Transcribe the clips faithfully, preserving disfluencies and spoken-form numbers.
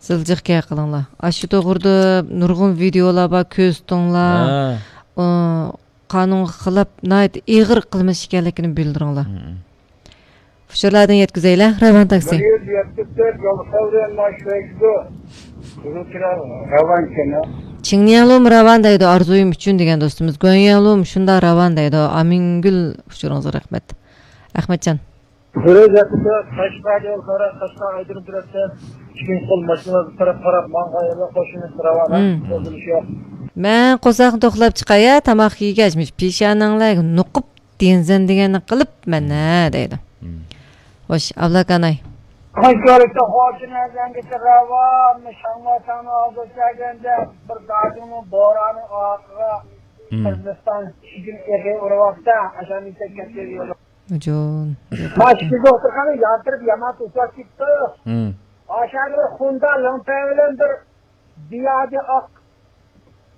سىلجىق گەپ قىلىڭلار. ئاشۇ توغرىدا نۇرغۇن ۋىدېئولار بار، كۆرسىتىڭلار. ھە. ئۇ، قانۇنغا خىلاپ ناھايىتى ئېغىر قىلمىش ئىكەنلىكىنى بىلدۈرۈڭلار. مم. ئۇچۇرلاردىن يەتكۈزەيلى، راۋان تاكسى. بىر يۈز يەتمىش تۆت يول سەۋرەن ماشىنىسى. بۇنىڭكى راۋانكەن، ھە؟ چىڭنياڭلۇم راۋان دەيدۇ، ئارزۇيۇم ئۈچۈن دېگەن دوستىمىز. گۇەنياڭلۇم شۇنداق راۋان دەيدۇ. ئامىنگۈل ئۇچۇرىڭىزغا رەھمەت. ئەخمەتجان. بىر يۈز يەتمىش تۆت قەشقەر يول سەۋرەن، قەشقەر ئايدىن تەرەپتە ئىككى قول ماشىنىلار بىر تەرەپ قاراپ ماڭغان يولدا قوشۇلۇش راۋان، ھە؟ مم. قوشۇلۇش يوق. مەن قورساقنى توقلاپ چىقاي، ھە، تاماق يېگەچ، مۇشۇ پېشانەڭلەرگە نوقۇپ دېنزەن دېگەننى قىلىپ مەن، ھە، دەيدۇ. مم. خوش، ئابلىكاناي. خەنزەنگىچە راۋان، شاڭماتاڭنىڭ ئالدىغا كەلگەندە بىر دادىڭنىڭ بورانى ئارقىغا، مم، قىرغىزىستان ئىچىدىن ئېغىر ئۇرۇۋاتسا، ئاشۇندىن كەتكەن يول. جون. ماشىنا دوختۇرخانا يانتىرىپ يامان توسۇلۇپ كېتىپتۇ. مم. ئاشۇ بىر خۇندا لىڭپەي بىلەن بىر زىيادى ئاق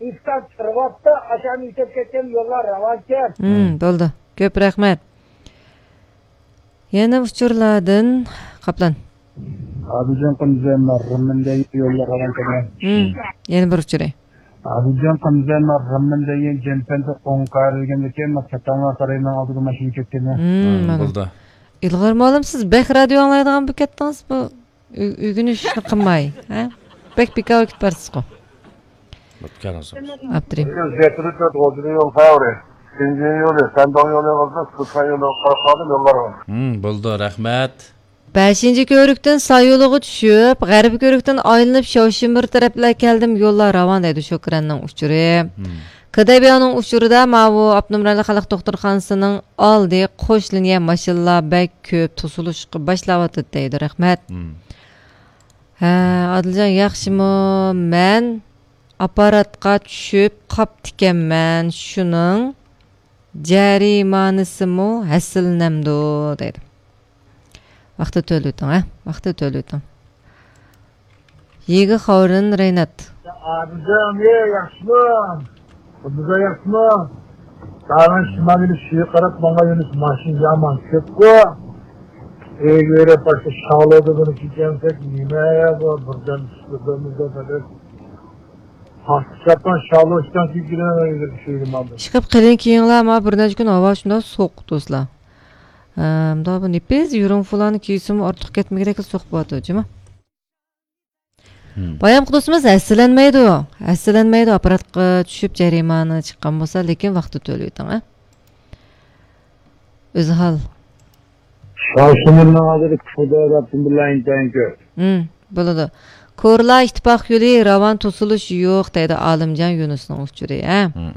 ئىفتا تۇرۇۋاپتۇ، ئاشۇنى ئېيتىپ كەتكەن يوللار راۋانكەن. ھىم، بولدى. كۆپ رەھمەت. يەنە ئۇچۇرلاردىن قاپلان. ئابىجان قىمزەن رىممىندەي يوللار راۋانكەن. ھىم، يەنە بىر ئۇچۇرى. ئابىجان قىمزەن رىممىندەي جەنپەندە ئوڭ قارىلىگەندىكىن، چاتاڭلار سارىيىنىڭ ئالدىدا ماشىنا كەتكەن. ھىم، ھىم، مانا. بولدى. ئىلغار مۇئەللىم، سىز بەك رادىيو ئاڭلايدىغان بولۇپ كەتتىڭىز بۇ. ئۆ-، ئۆگىنىشنى قىلماي، ھە؟ بەك بىكار ۋاقىت بارسىزغۇ. بوپتۇ، كەلسىڭىز. ئاپتىرىن. يەتتە تۆت غوجىنى يول سەۋرى. شىنجاڭ يولى، سەنداڭ يولى قىلسا، سۇسان يولى قارقادىن يوللار بار. ھىم، بولدى، رەھمەت. بەشىنچى كۆۋرۈكتىن سايولىغا چۈشۈپ، غەربىي كۆۋرۈكتىن ئايلىنىپ، شاۋشىمىر تەرەپلەر كەلدىم، يوللار راۋان دەيدۇ شوكرەننىڭ ئۇچۇرى. ھىم. كېدەيبياۋنىڭ ئۇچۇرىدا ماۋۇ ئاپتونوم رايونلۇق خەلق دوختۇرخانىسىنىڭ ئالدى قوش لىنىيە ماشىنىلار بەك كۆپ توسۇلۇشقا باشلاۋاتىدۇ دەيدۇ. رەھمەت. مم. ھە، ئادىلجان ياخشىمۇ؟ مەن ئاپپاراتقا چۈشۈپ قاپتىكەنمەن، شۇنىڭ جەرىمانىسىمۇ ھەسسىلىنەمدۇ دەيدۇ. ۋاقتىدا تۆلىۋېتىڭ، ھە؟ ۋاقتىدا تۆلىۋېتىڭ. يېگە خاۋرىن رەينات. ئابىجان، ئەي، ياخشىمۇ؟ قۇدۇزا ياخشىمۇ؟ تاغىن شىمالىي شۇيى قاراپ ماڭا يۈنۈس ماشىنا يامان كۆپكۇ. ئۆيگە بېرىپ باشتا شالۇدا بۇنى كېچەمسەك نېمە بۇ بىردەم چۈشتى بىرمىزدا پەقەت. ھاققى چاپان شالۇ ئىشتان كېلىپ كېلىمەن ئۆيگە شۇيىنى ماڭدى. ئىشقىپ قېلىن كىيىڭلار، ما بىر نەچچە كۈن ھاۋا شۇنداق سوغۇق دوستلار. ئەمدى بۇ نېپىز يۇرۇڭفۇلارنى كىيسىمۇ ئارتۇق كەتمىگۈدەك سوغۇق بولۇۋاتىدۇ، جۇمۇ. ھىم. بايام قۇدۇسىمىز ھەسسىلەنمەيدۇ. ھەسسىلەنمەيدۇ، ئاپپاراتقا چۈشۈپ جەرىمانە چىققان بولسا، لېكىن ۋاقتىدا تۆلىۋېتىڭ، ھە؟ ئۆزھال. شاۋشىمىرنىڭ ھازىر كۇفۇدا رەبتىم بىللە ئىنتايىن كۆپ. ھىم، بولىدۇ. كورلا ئىتتىپاق يولى راۋان توسۇلۇش يوق دەيدۇ ئالىمجان يۇنۇسنىڭ ئۇچۇرى، ھە؟ ھىم.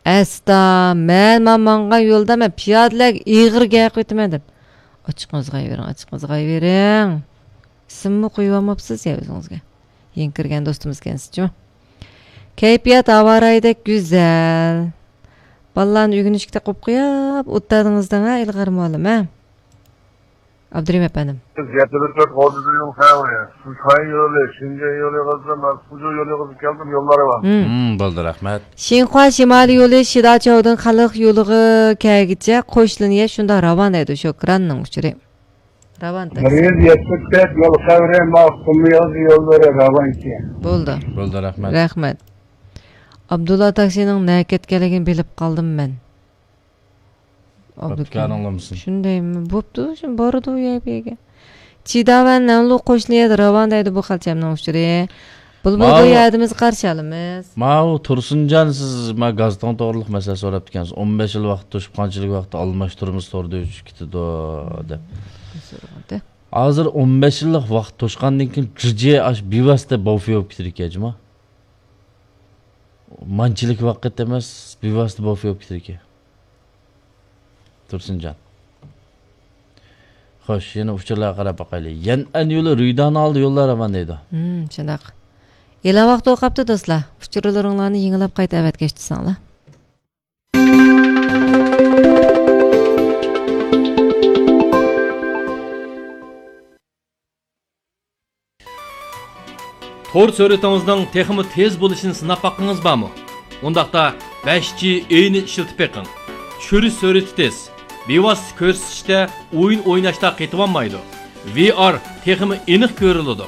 ئەستا، مەن، مەن ماڭغان يولدا مەن پىيادىلەرگە ئېغىر گەپ قىلىۋېتىمەن دەپ. ئاچچىقىڭىزغا ئايۋېرىڭ، ئاچچىقىڭىزغا ئايۋېرىڭ. ئىسىممۇ قويۇۋالماپسىز يا ئۆزىڭىزگە. يېڭى كىرگەن دوستىمىز ئىكەنسىزچۇ؟ كەيپىيات ھاۋارايىدەك گۈزەل. بالىلارنى ئۆگىنىشكە تاقىپ قويۇپ ئولتۇردىڭىز دەڭ ھە، ئىلغار مۇئەللىم، ھە؟ ئابدۇرېھىم ئەپەندىم. يەتتە بىر تۆت غوجىدىن يول سەۋرى. سۇسان يولى، شىنجاڭ يولى قىلسا، مەن سۇجۇ يولى قىلسا كەلدىم، يوللار بار. ھىم. ھىم، بولدى، رەھمەت. شىنخۇا شىمالىي يولى شىداچاۋدىن خەلق يولىغا كەلگۈچە قوش لىنىيە شۇنداق راۋان دەيدۇ شوكراننىڭ ئۇچۇرى. راۋان بىر تاكسى. يۈز يەتمىش تۆت يول سەۋرى، ما قۇم يولى يوللىرى راۋانكى. بولدى. بولدى، رەھمەت. رەھمەت. ئابدۇللا تاكسىنىڭ نەگە كەتكەنلىكىنى بىلىپ قالدىم مەن. ئابدۇكېرىم. ئابدۇكېرىم ئاڭلىمىسۇن. شۇندايمۇ؟ بوپتۇ، شۇ بارىدۇ يا بۇ يەرگە. چىداۋەن نەنلۇ قوش لىنىيەدە راۋان دەيدۇ بۇ خەلچەمنىڭ ئۇچۇرى. بۇلبۇل، بۇ ماۋۇ يەردە بىز قارشى ئالىمىز. ماۋۇ تۇرسۇنجان، سىز ما گازېتىڭ توغرىلىق مەسىلە سوراپتىكەنسىز. ئون بەش يىل ۋاقىت توشۇپ، قانچىلىك ۋاقىت ئالماشتۇرىمىز، توردا ئۆچۈپ كېتىدۇ دەپ. ھازىر ئون بەش يىللىق ۋاقىت توشقاندىن كېيىن جىجى ئاش بىۋاسىتە بوفې بولۇپ كېتىدىكەن، جۇما. مانچىلىك ۋاقىت ئەمەس، بىۋاسىتە بوفې بولۇپ كېتىدىكەن. تۇرسۇنجان. خوش، يەنە ئۇچۇرلارغا قاراپ باقايلى. يەنئەن يولى رۇيدان ئالدى يوللار راۋان دەيدۇ. ھىم، شۇنداق. ئېلان ۋاقتى بولۇپ قاپتۇ دوستلار. ئۇچۇرلىرىڭلارنى يېڭىلاپ قايتا ئەۋەتكەچ تۇرساڭلار. تور سۈرئىتىڭىزنىڭ تېخىمۇ تېز بولۇشىنى سىناپ باققىڭىز بارمۇ؟ ئۇنداقتا بەش جى ئېينى ئىشلىتىپ بېقىڭ. چۈشۈرۈش سۈرئىتى تېز، بىۋاسىتە كۆرسىتىشتە ئويۇن ئويناشتا قېتىۋالمايدۇ. ۋى ئار تېخىمۇ ئېنىق كۆرۈلىدۇ.